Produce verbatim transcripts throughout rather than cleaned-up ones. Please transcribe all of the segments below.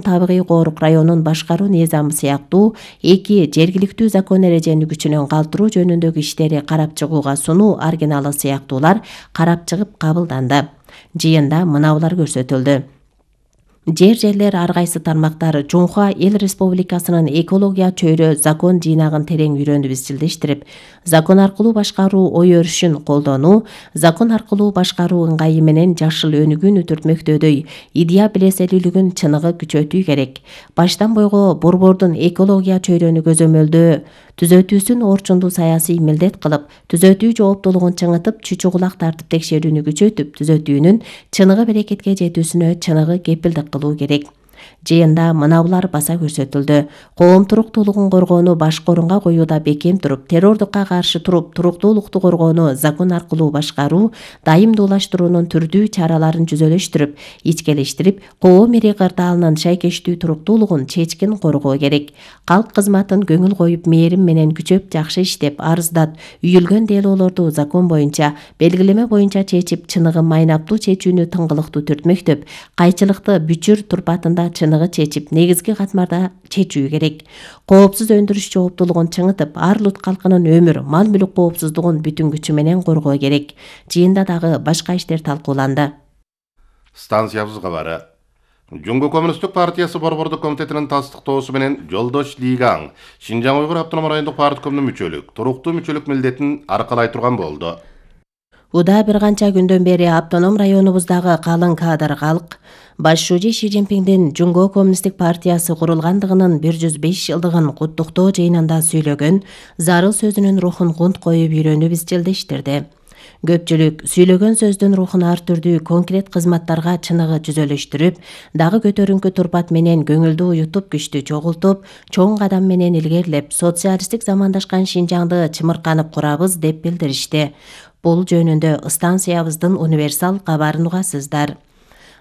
Табигый Коорук районун башкаруу низамы сыяктуу эки жергиликтүү закон эрежени күчүнөн калтыруу жөнүндөгү иштери карап чыгууга сунуу оригиналы сыяктуулар карап чыгып кабылданды. Жыйында мынаулар көрсөтүлдү. Жер жерлер ар кайсы тармактар Жунхва Эл Республикасынын экология чөйрө закон жыйнагын терең үйрөнүп изчилдештирип, закон аркылуу башкаруу ой өрүшүн колдонуу, закон аркылуу башкаруу ыңгайы менен жашыл өнүгүүнү үтүртмөктөдөй идея билеселүүлүгүн чыныгы күчөтүү керек. Баштан бойго борбордун экология чөйрөнү көзөмөлдөө түзөтүүсүн орчундуу саясий милдет кылып, түзөтүү жооптуулугун чыңытып, чүчү кулак тартып текшерүүнү күчөтүп, түзөтүүнүн чыныгы берекетке жетүүсүнө чыныгы кепилдик кылуу керек. Жыйында мынаулар баса көрсөтүлдү. Коом туруктуулугун коргоону башкы орунга коюуда бекем туруп, террордукка каршы туруп, туруктуулукту коргоону закон аркылуу башкаруу, дайымдуулаштыруунун түрдүү чараларын жүзөлөштүрүп, ичкелештирип, коом эри кырдаалынын шайкештүү туруктуулугун чечкин коргоо керек. Калк кызматын көңүл коюп, мээрим менен күчөп, жакшы иштеп, арыздат, үйүлгөн делоолорду закон боюнча, белгилеме боюнча чечип, чыныгы майнаптуу чечүүнү тыңгылыктуу түртмөктөп, кайчылыкты бүчүр турпатында чыныгы чечип, негизги катмарда чечүү керек. Коопсуз өндүрүш жооптуулугун чыңытып, ар улут калкынын өмүр, мал-мүлүк коопсуздугун бүтүн күчү менен коргоо керек. Жыйында дагы башка иштер талкууланды. Станциябыз кабары. Жумго Коммунисттик партиясы борбордук комитетинин тастыктоосу менен Жолдош Лигаң Шинжаң Уйгур автономдук райондук парткомдун мүчөлүк, туруктуу мүчөлүк милдетин аркалай турган болду. Уда бир канча күндөн бери автоном районубуздагы калың кадр калк Баш шужи Ши Цзиньпиндин Жумго Коммунисттик партиясы курулгандыгынын бир жүз беш жылдыгын куттуктоо жыйынында сүйлөгөн, зарыл сөзүнүн рухун кунт коюп үйрөнүп изчилдештирди. Көпчүлүк сүйлөгөн сөздүн рухун ар түрдүү конкрет кызматтарга чыныгы жүзөлөштүрүп, дагы көтөрүңкү турпат менен көңүлдү уютуп, күчтү чогултуп, чоң кадам менен илгерилеп, социалисттик замандашкан Шинжаңды чымырканып курабыз деп билдиришти. Бул жөнүндө станциябыздын универсал кабарын угасыздар.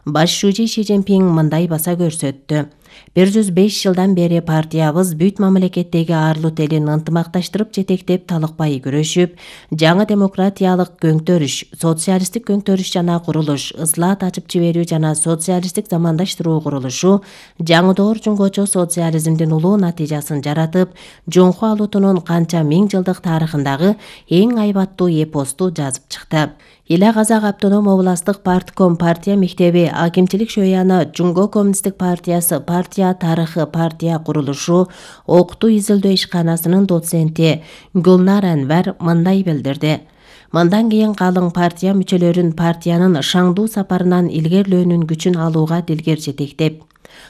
Баш шужи Ши Цзиньпин мындай баса көрсөттү. бир жүз беш жылдан бери партиябыз бүт мамлекеттеги ар улут элин ынтымакташтырып жетектеп талыкпай күрөшүп, жаңы демократиялык көңтөрүш, социалисттик көңтөрүш жана курулуш, ыслаат ачып жиберүү жана социалисттик замандаштыруу курулушу жаңы доор жунгочо социализмдин улуу натыйжасын жаратып, Жунхва улутунун канча миң жылдык тарыхындагы эң айбаттуу эпосту жазып чыкты. Ила Казак автоном областык партком партия мектеби акимчилик шөяны Жумго Коммунисттик партиясы партия тарыхы партия курулушу окутуу изилдөө ишканасынын доценти Гулнар Анвар мындай билдирди. Мындан кийин калың партия мүчөлөрүн партиянын шаңдуу сапарынан илгерилөөнүн күчүн алууга дилгер жетектеп,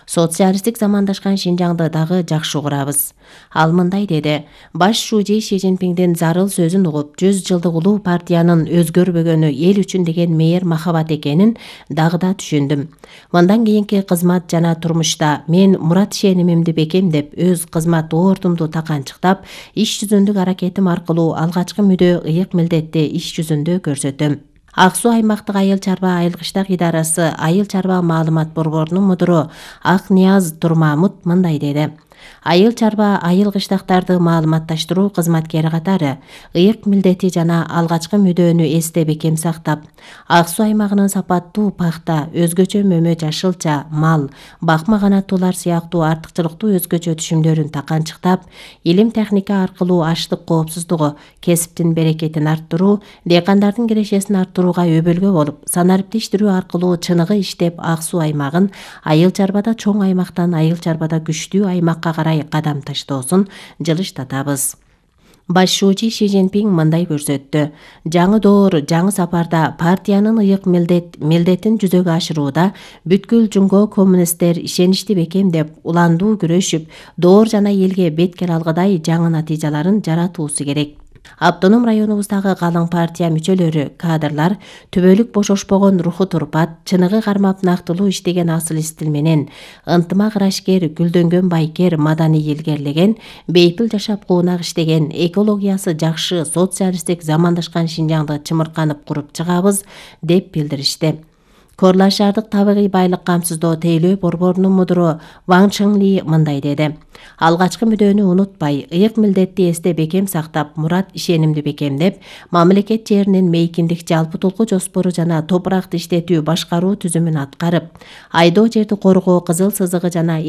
социалисттик замандашкан Шинжаңды дагы жакшы курабыз. Ал мындай деди. Баш шужи Ши Цзиньпиндин зарыл сөзүн угуп, жүз жылдык улуу партиянын өзгөрбөгөнү эл үчүн деген мээр махабат экенин дагы да түшүндүм. Мындан кийинки кызмат жана турмушта мен мурат ишенимимди бекемдеп, өз кызмат оортумду таканчыктап, иш жүзүндүк аракетим аркылуу алгачкы мүдө ыйык милдетти иш жүзүндө көрсөтөм. Ак Суу аймактык айыл чарба айылгыштак идарасы айыл чарба маалымат борборунун мудуру Ак Нияз Турмамут мындай деди. Айыл чарба айыл кыштактарды маалыматташтыруу кызматкери катары ыйык милдети жана алгачкы мүдөнү эсте бекем сактап, Ак Суу аймагынын сапаттуу пахта, өзгөчө мөмө жашылча, мал, бакма канаттуулар сыяктуу артыкчылыктуу өзгөчө түшүмдөрүн таканчыктап, илим техника аркылуу аштык коопсуздугу, кесиптин берекетин арттыруу, дыйкандардын кирешесин арттырууга өбөлгө болуп, санариптештирүү аркылуу чыныгы иштеп Ак Суу аймагын айыл чарбада чоң аймактан айыл чарбада күчтүү аймакка карай кадам таштоосун жылыштатабыз. Баш шужи Ши Цзиньпин мындай көрсөттү. Жаңы доор, жаңы сапарда партиянын ыйык милдет, милдетин жүзөгө ашырууда бүткүл Жумго коммунисттер ишеничти бекемдеп, уландуу күрөшүп, доор жана элге беткер алгыдай жаңы натыйжаларын жаратуусу керек. Автоном районубуздагы калың партия мүчөлөрү, кадрлар түбөлүк бошошпогон руху турпат, чыныгы кармап нактылуу иштеген асыл стил менен, ынтымак ырашкер, гүлдөнгөн байкер, маданий илгерлеген, бейпил жашап куунак иштеген, экологиясы жакшы, социалисттик замандашкан Шинжаңды чымырканып куруп чыгабыз деп билдиришти. Корла шаардык табигый байлык камсыздоо тейлөө борборунун мудуру Ван Чыңли мындай деди. Алгачкы мүдөнү унутпай, ыйык милдетти эсте бекем сактап, мурат ишенимди бекемдеп, мамлекет жеринин мейкиндик жалпытулкуу жоспору жана топуракты иштетүү башкаруу түзүмүн аткарып, айдоо жерди коргоо кызыл сызыгы жана